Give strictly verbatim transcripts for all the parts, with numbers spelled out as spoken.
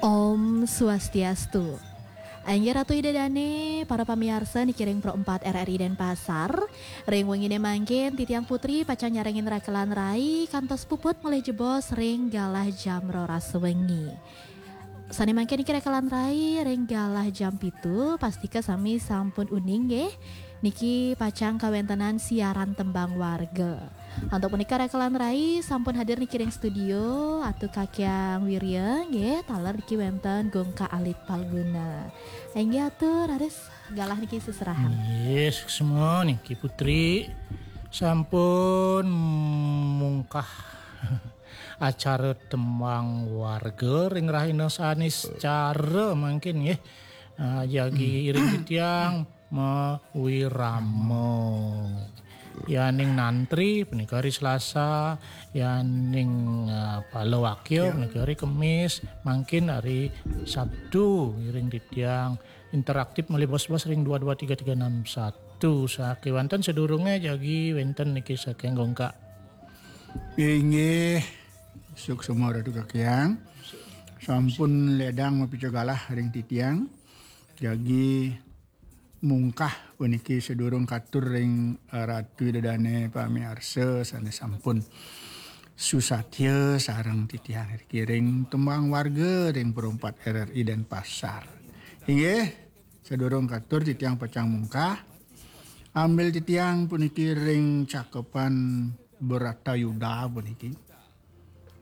Om Swastiastu. Inggih Ratu Ida Dane, para pamiarsa niki ring Pro empat R R I Denpasar. Ring wengine mangkin titiang Putri pacang nyarengin rakelan rai kantos puput malih jebos ring galah jam roras wengi. Sane mangkin niki rakelan rai ring galah jam pitu, pastika sami sampun uning nggih. Niki pacang kawentenan siaran tembang warga. Antuk punika rakelan rai sampun hadir niki ring studio, Atu Kakyang Wirya nggih, taler niki wenten Gungkak Alit Palguna. Inggih Atu, raris galah niki seserahan. Nggih, suksma niki Putri. Sampun mungkah acara tembang warga ring rahina Saniscara mangkin nggih. Ah, jagi iring titiang mawirama. Yaning nantri punika hari Selasa, yaning, ah, palawakya punika hari Kemis, mangkin hari Sabtu iring titiang interaktif malih bos-bos ring dua dua tiga tiga enam satu. Sakewanten sadurunge jagi wenten niki saking Gungkak. Inggih, suksma Ratu Kakyang. Sampun ledang mapica galah ring titiang. Jagi mungkah puniki sadurung katur ring, eh, Ratu Ida Dane pamiarsa sane sampun susatya sareng titiang niki ring tembang warga ring Pro empat R R I Denpasar. Inggih, sadurung katur titiang pacang mungkah. Ambil titiang puniki ring cakepan Bratayuda puniki.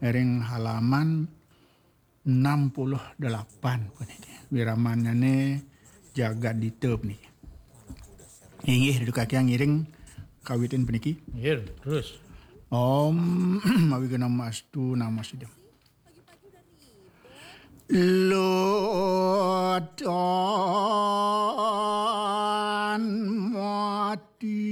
Ring halaman enam puluh delapan puniki. Wiramannyane Jagadita puniki. Inggih, Ratu Kakyang ngiring kawitin puniki. Nggih, terus. Om Awighnam Astu Namo Siddham. Lodan mati.